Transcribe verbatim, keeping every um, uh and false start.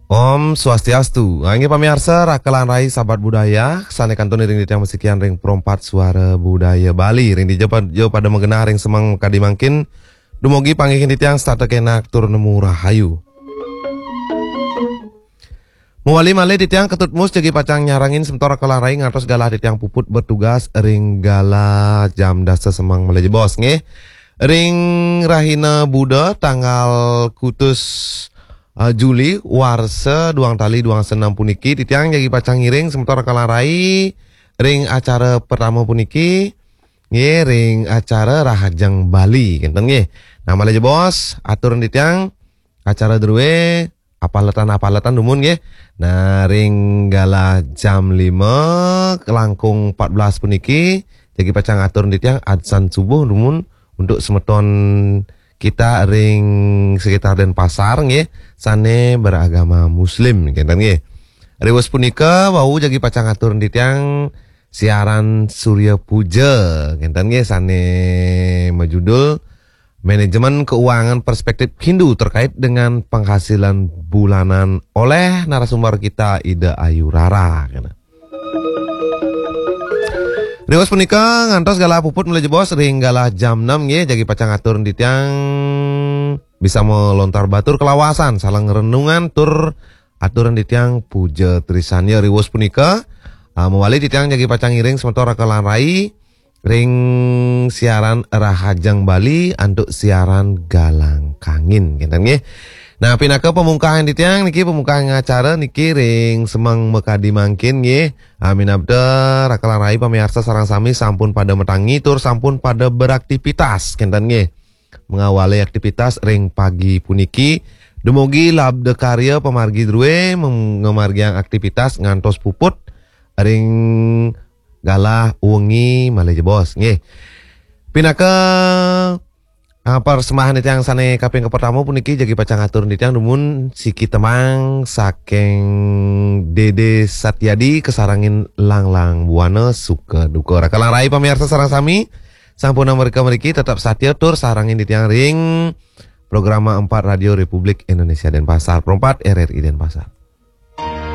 Om Swastiastu. Inggih pamiarsa, raka lan rai sahabat budaya, sane kantun iring titiang masikian ring Pro empat Suara Budaya Bali. Ring dija pa-, jo pada magenah ring semeng kadi mangkin, dumugi panggihin titiang setata kenak tur nemu rahayu. Mawali malih titiang Ketut Mus jagi pacang nyarengin semeton raka lan rai ngantos galah titiang puput bertugas ring galah jam dasa semeng malih jebos nggih. Ring rahina Buda tanggal kutus, eh, Juli warsa duang tali duang dasa enam puniki, titiang jagi pacang ngiring semeton raka lan rai ring acara pertama puniki nggih, ring acara Rahajeng Bali kenten nggih. Nah, malih jebos atur titiang acara drue apaletan-apaletan dumun nggih. Nah, ring galah jam lima langkung empat belas puniki, jagi pacang atur titiang adzan subuh dumun untuk semeton kita ring sekitar Denpasar nggih, sane beragama Muslim kenten nggih. Riwes punika wau jagi pacang atur titiang siaran Surya Puja kenten nggih, sane majudul Manajemen Keuangan Perspektif Hindu terkait dengan penghasilan bulanan oleh narasumber kita Ida Ayu Rara. Kena. Riwes punika ngantos galah puput malih jebos ring galah jam enam nggih, jagi pacang atur titiang bisa melontar batur kalawasan, saling renungan tur atur titiang puja trisanya. Riwes punika, ah, mawali titiang jagi pacang ngiring semeton raka lan rai ring siaran Rahajeng Bali antuk siaran Galang Kangin kenten nggih. Nah, pinaka pamungkahan titiang niki, pamungkahan acara niki ring semeng makadi mangkin nggih. Amin abda raka lan rai pamiarsa sareng sami sampun pada matangi tur sampun pada beraktivitas kenten nggih. Mengawali aktivitas ring pagi puniki, dumugi labda karya pamargi drue mem-, ngamargiang aktivitas ngantos puput ring galah wengi malih jebos nggih. Pinaka, ah, persembahan titiang sane kaping kapertama puniki jagi pacang atur titiang dumun siki tembang saking Dede Satyadi kasarengin Langlang Buana Suka Duka. Raka lan rai pamiarsa sareng sami, sampun mrika mriki tetep satia tur sarengin titiang ring Programa empat Radio Republik Indonesia Denpasar, Pro empat R R I Denpasar.